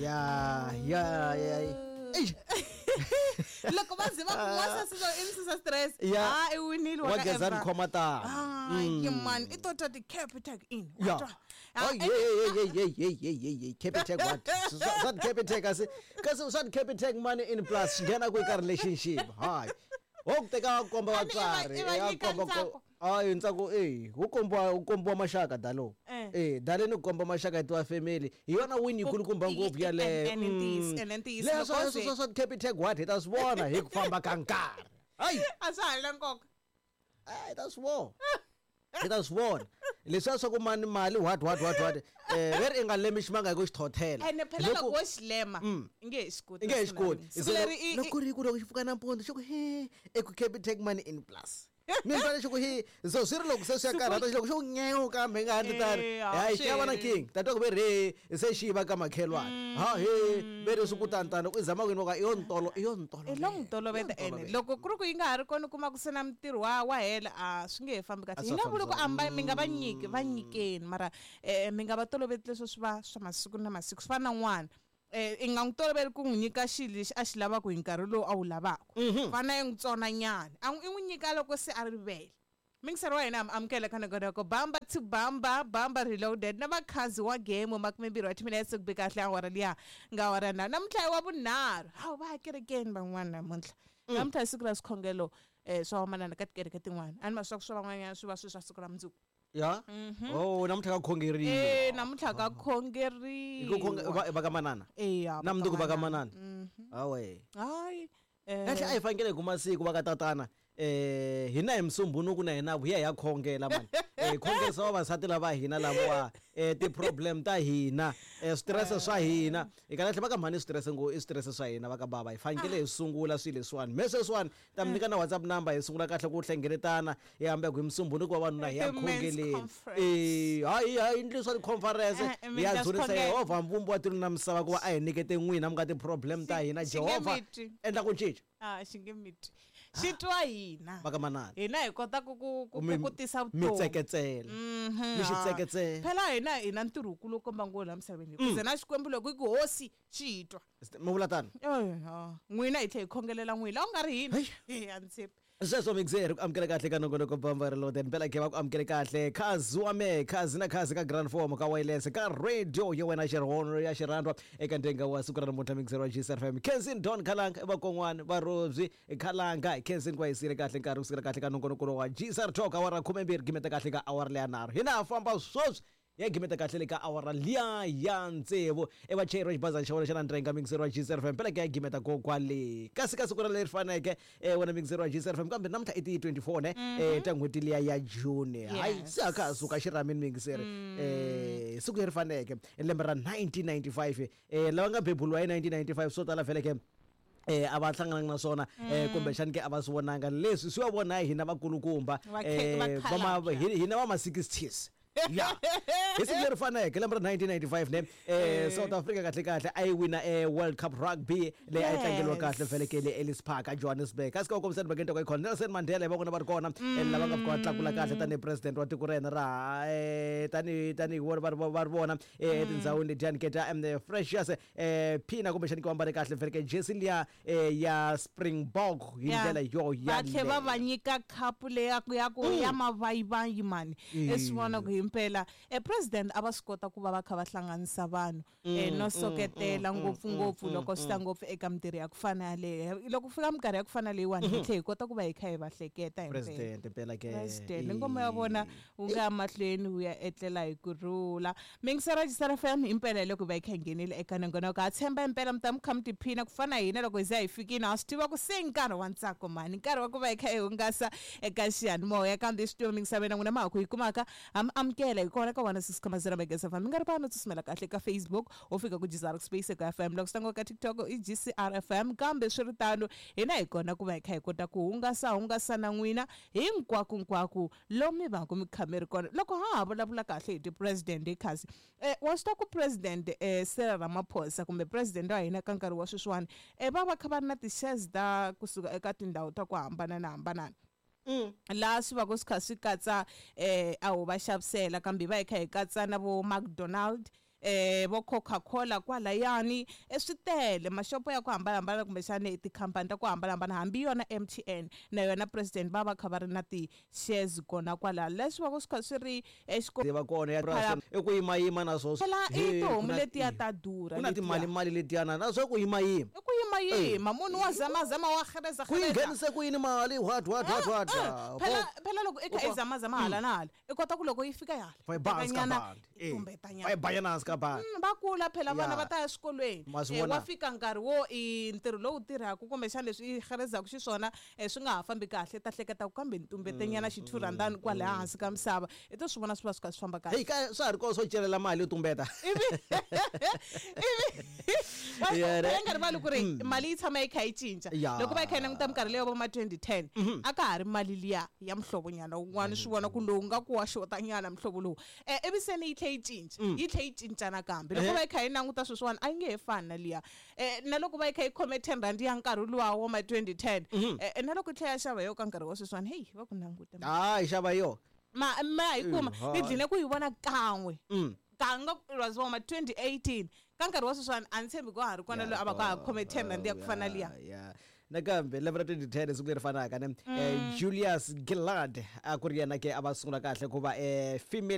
Ya ya ya. Eish. Loko va ze va ku n'wansati loyi i mi susa stress. Ya. Ha i winile Wa ka Gezani Evra. khoma tano. Hayi man, i to twa ti-Capitec in. Wa Ya. twa? Ah, Oh, hey, hey, hey, hey, hey, hey, hey, hey, Capitec what? Swa Capitec kasi kasi swa Capitec money in plus swi nghena kwihi ka relationship? Hayi. Wo ku teka wa komba A ni i va- vatswari, i va ya nyika komba ko ntsako. Hayi ntsako eh, wu kombiwa maxaka dalo. Eh. Eh, daleni ku komba maxaka hi tiwa family. Hi yona win yikulukumba ngopfu yaleyo. Ene ntiyiso, ene ntiyiso. Leswo Loko swa swa Capitec what hi ta swi vona hi ku famba ka nkarhi. Hayi. A swa ha ri na nkoka. Hi ta swi vona, hi ta swi vona leswiya swa ku mani mali what what what what, veri i nga lemi ximanga hi ku xi thothela. Ene phela loko wo xi lema, i nge he xi koti. I nge he xi koti. Siku leri i Loko ku ri ku loko xi pfuka nampundzu xi ku he eku Capitec money in plus mi ni xi ku he, so swi ri loko se swi ya karhata xi loko xi ku nyewu kambe nga handle tani. Eh, a Hayi, xi ya va na swi king tata ku ve ri se xi yiva ka makhelwani, ha he ve ri swi ku tani tani u zama ku yini i yo ntolo i yo ntolo. I lo n'wi toloveta, ene loko ku ri ku yi nga ha ri kona u kuma ku se na mintirho wa hela, a swi nge he fambi kahle. A Hi swa nga vuli ku fambisana. amba mi nga va nyiki, va nyikeni, mara mi nga va toloveti leswo swi va swa masiku na masiku. Swi fana na n'wana, i nga n'wi toloveli ku n'wi nyika xilo lexi a xi lavaka hi nkarhi lowu a wu lavaka. Fana i n'wi tsona nyana, a n'wi i n'wi nyika loko se a rivele. Mingiseri wa hina, amukela ka nongonoko Bamba to Bamba, Bamba Reloaded na vakhazi wa game, 20 wa timinetse ku be kahle awara liya nga awara na namuntlha i wa vunharhu. Hawu, va ya kerekeni van'wana namuntlha. Namuntlha i siku ra swikhongelo swa vamanana ka tikereke tin'wana, a ni ma swa ku swa van'wanyana swi va swi swa siku ra mundzuku. Ya, oh, namuntlha ka khongeriwa. Namuntlha ka Hi ku khongeriwa. Va ka manana. Eya. Na mundzuku va ka manana. Hawe. Hayi. Kahle, a hi fanekele hi kuma siku va ka tatana, hina hi musumbunuku na hina hi ya hi ya khongela mani, khongerisa vavasati lava hina lavawa, ti-problem ta hina, stress swa hina hi kahle va ka mhani, stress ngo i stress swa hina va ka bava, hi fanekele hi sungula swilo leswiwani me sweswiwani ta mi nyika na WhatsApp number, hi sungula kahle ku hlengeletana, hi hamba ku hi musumbunuku vavanuna hi ya Ti-men's khongeleni. conference. Hayi hayi, ndli swa ti-conference. Mi Hi ya endla dzunisa swikhongelo. Yehovha mvumbi wa tilo na misava ku va a hi nyikete n'wina mi nga ti-problem ta hina. Xi nge Jehovha mi twi. endla ku cinca. A xi nge mi twi, xi twa hina. Va ka manana. Hina hi kota ku ku tisa Mi vutomi. tseketsela, mi xi tseketsela. Phela hina hi na ntirho wukulu wo komba ngo laha misaveni, ku ze na Xikwembu loko i ku hosi xi hi twa. Mi vula tano. Eh, ha. N'wina hi tlhe hi khongelela n'wina, a ku nga ri hina. Eh, a ni tshembi. Sweswo mixer ku amukela kahle ka nongonoko Bamba Reloaded, mpela ke va ku amukele kahle khazi wa me khazi na khazi ka grand form ka wireless ka radio ya wena xirhono ya xirhandwa eka ndenga wa siku ra namuntlha. Mixer wa GCFM, Kensin Don Khalanga vakon'wana va Robyi Khalanga, Kensin kwa hisile kahle nkarhi kusukela kahle ka nongonoko wa GCR Talk awara 12 gimeta kahle ka awara leya nharhu, hina ha famba sweswi ya gimeta kahle le ka awara liya ya tsevu, i vachayeri va xibazana xa wena xa na ndrenga mixer wa GCFM, mpela ke ya gimeta ko kwale kasi ka siku ra leri faneke, wena mixer wa GCFM, kambe namuntlha i ti 24 ne ta n'hweti liya ya June. Hayi, se a ka ha suka xirhamini mixer, siku leri faneke lembe ra 1995, lava nga beburiwa hi 1995 swo tala vhele ke a va hlangananga na swona, kumbexani ke a va swi vonanga leswi swi va vona hi hina vakulukumba. Vakhalabya. Hina va ma 60s ya hi siku leri faneke lembe ra 1995 ne, South Africa kahle kahle a yi wina World Cup rugby leyi a yi tlangeriwa kahle vhele le Ellis Park a Johannesburg, kasi ka kombisa mhakeni ta khona Nelson Mandela hi va vona va ri kona, lava nga fika va tlakula kahle tanihi president wa tiko ra hina ra tanihi vona va ri vona etindhawini letiyani ke ta Freshers phina kumbexani ke va mbale kahle vhele ke jersey liya ya Springbok hi ndlela yo Va tlhe va va yaleyo. nyika khapu leya ku ya mavayivayi mani, i swi vona ku himpela president a va swi kota ku va va kha va hlanganisa vanhu, no soketela ngopfungopfu loko swi ta ngopfu eka mintirho ya ku fana yaleyo. Loko ku fika minkarhi ya ku fana leyiwani, hi tlhe hi kota ku va hi kha hi va hleketa himpela. President mpela ke. President, ngoma ya vona wu nga ya mahlweni wu ya etlela hi ku rhula. Mingisera Jisara FM, impela hi loko va yi kha hi nghenile eka nongonoko, ha tshemba impela mi ta mi kha mi tiphina ku fana hina loko hi za hi fikile. Ha swi tiva ku se nkarhi wa ntsako mani, nkarhi wa ku va hi kha hi hungasa eka xiyanimoya, kambe swi tiva mingisaveni na n'wina ma ha ku hi kumaka, ha mi amukela hi kona ka 106.0 Megas FM. Mi nga ri pano tsutsumela kahle ka Facebook, wo fika ku GCR Space eka FM, loko swi ta ka TikTok i GCR FM. Kambe swi ri tano, hina hi kona ku va hi kha hi kota ku hungasa hungasa na n'wina hinkwako nkwako lomu mi va ku mi kha mi ri kona. Loko ha ha vulavula kahle hi ti-president hi khasi, wa swi tiva ku president Cyril Ramaphosa kumbe president wa hina ka nkarhi wa sweswiwani, va va kha va ri na ti-shares ta kusuka eka tindhawu ta ku hambanana hambanana, laha swi va ku swi kha swi katsa a ho va xavisela, kambe hi va hi kha hi katsa na vo McDonald. Vo Coca-Cola kwalayani, swi tele maxopo ya ku hambanahambana kumbexani tikhampani ta ku hambanahambana, hambi yona MTN na yona president va va kha va ri na ti-shares kona kwala, leswi va ku swi kha swi ri va kona ya i ku yimayima na swo phela i tihomu letiya ta durha. Ku na timali mali letiyana na swo ku yimayima. I ku yimayima, munhu wa zamazama, wa xereza. Ku yi nghenise ku yini mali, what what what what? Phela phela loko i kha i zamazama hala na hala, i kota ku loko yi fika hala Va yi ba hansi ka bandi. Tumbetanyana. Va yi banyana hansi ka bandi. Va kula phela vana, va ta ya swikolweni. Ma swi vona? Wa fika nkarhi wo i ntirho lowu tirhaka kumbexana leswi i xerezaka xiswona, swi nga ha fambi kahle, ta hleketa ku kambe ni tumbetenyana xithurandani kwalaya hansi ka misava, i to swi vona swi va swi kha swi famba kahle. Heyi, ka swa ha ri kona swo celela mali yo tumbeta. Ivi Yeah, va nga rivali ku ri mali yi tshama yi kha yi cinca. Loko va yi kha yi languta minkarhi leyo va ma 2010, a ka ha ri mali liya ya muhlovonyana wun'wana, swi vona ku lowu nga ku wa xotanyana muhlovo lowu, ivi se ni yi tlhe yi cinca, yi tlhe yi cinca nakambe. Loko va yi kha yi languta sweswiwani, a yi nge he fani na liya, na loko va yi kha yi khome 10 rand ya nkarhi luwa wa ma 2010, na loko yi tlhe ya xava yo ka nkarhi wa sweswiwani, heyi, va ku languta. Hayi, xava yo. Ma yi kuma. Ni dline ku yi vona kan'we. Kanga it was ma 2018. Ka nkarhi wa sweswiwani a ni tshembi ku ha ri kona loyi a va ka ha khome 10 rand ya ku fana liya. Ya, nakambe lembe ra 2010, siku leri fanaka ne, Julius Gillard a ku ri yena ke a va sungula kahle ku va female.